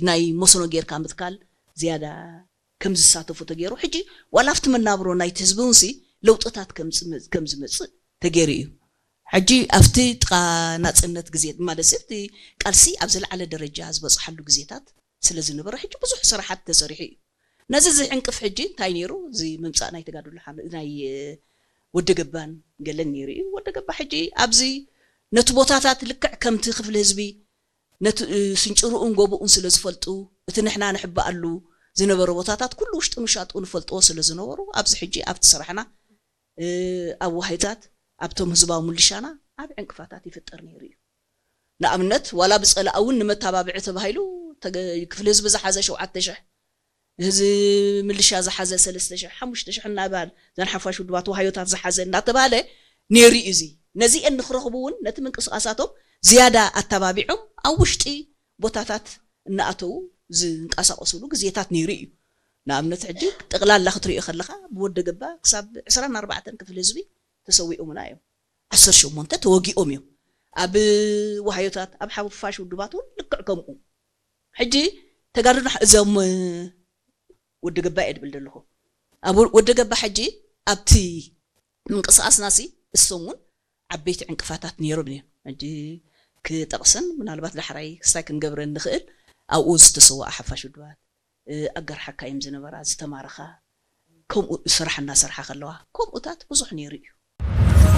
ናይ መስኖ ጌርካ ምትካል ዝያዳ ከም ዝሳተፉ ተገይሩ። ሕጂ ዋላ ኣብቲ መናብሮ ናይቲ ህዝቢ እውን ሲ ለውጥታት ከም ዝመ- ከም ዝመፅእ ተገይሩ እዩ። ሕጂ ኣብቲ ጥቓ ናፅነት ግዜ ማለት ሲ ኣብቲ ቃልሲ ኣብ ዝለዓለ ደረጃ ዝበፅሓሉ ግዜታት ስለ ዝነበረ ሕጂ ብዙሕ ስራሓት ተሰሪሑ እዩ። ነዚ ዝዕንቅፍ ሕጂ እንታይ ነይሩ? እዚ ምምፃእ ናይ ተጋድሎ ሓመ- ናይ ወደ ገባን ገለን ነይሩ እዩ። ወደ ገባ ሕጂ ኣብዚ ነቲ ቦታታት ልክዕ ከምቲ ክፍሊ ህዝቢ ነቲ ስንጭርኡን ጎቦኡን ስለ ዝፈልጡ እቲ ንሕና ንሕበኣሉ ዝነበረ ቦታታት ኩሉ ውሽጥን ውሻጥኡ ንፈልጥዎ ስለ ዝነበሩ ኣብዚ ሕጂ ኣብቲ ስራሕና ኣብ ዋህይታት ኣብቶም ህዝባዊ ምልሻና ዓብ ዕንቅፋታት ይፍጠር ነይሩ እዩ። ንኣብነት ዋላ ብፀላእ እውን ንመታባብዒ ተባሂሉ ተገ- ክፍሊ ህዝቢ ዝሓዘ ሸውዓተ ሽሕ፣ ህዝቢ ምልሻ ዝሓዘ ሰለስተ ሽሕ ሓሙሽተ ሽሕ እናባል ዘን ሓፋሽ ውድባት ዋህዮታት ዝሓዘ እናተባለ ነይሩ እዩ። እዚ ነዚአን ንክረኽቡ እውን ነቲ ምንቅስቃሳቶም ዝያዳ ኣተባቢዖም ኣብ ውሽጢ ቦታታት እናኣተዉ ዝንቀሳቀሱሉ ግዜታት ነይሩ እዩ። ንኣብነት ሕጂ ጠቅላላ ክትሪኦ ከለካ ብወደ ገባ ክሳብ ዕስራን ኣርባዕተን ክፍሊ ህዝቢ ተሰዊኦምና እዮም። ዓሰርተ ሸሞንተ ተወጊኦም እዮም። ኣብ ዋህዮታት ኣብ ሓፋሽ ውድባት እውን ልክዕ ከምኡ። ሕጂ ተጋድሎ እዞም ወዲ ገባ እየ ድብል ዘለኹ። ኣብ ወዲ ገባ ሕጂ ኣብቲ ምንቅስቃስና ሲ እሶም እውን ዓበይቲ ዕንቅፋታት ነይሮም እዮም። ሕጂ ክጠቕስን ምናልባት ዳሕራይ ክስታይ ክንገብረን ንኽእል ኣብኡ ዝተሰወኣ ሓፋሽ ውድባት ኣገር ሓካይም ዝነበራ ዝተማረኻ ከምኡ ስራሕ እናሰርሓ ከለዋ ከምኡታት ብዙሕ ነይሩ እዩ።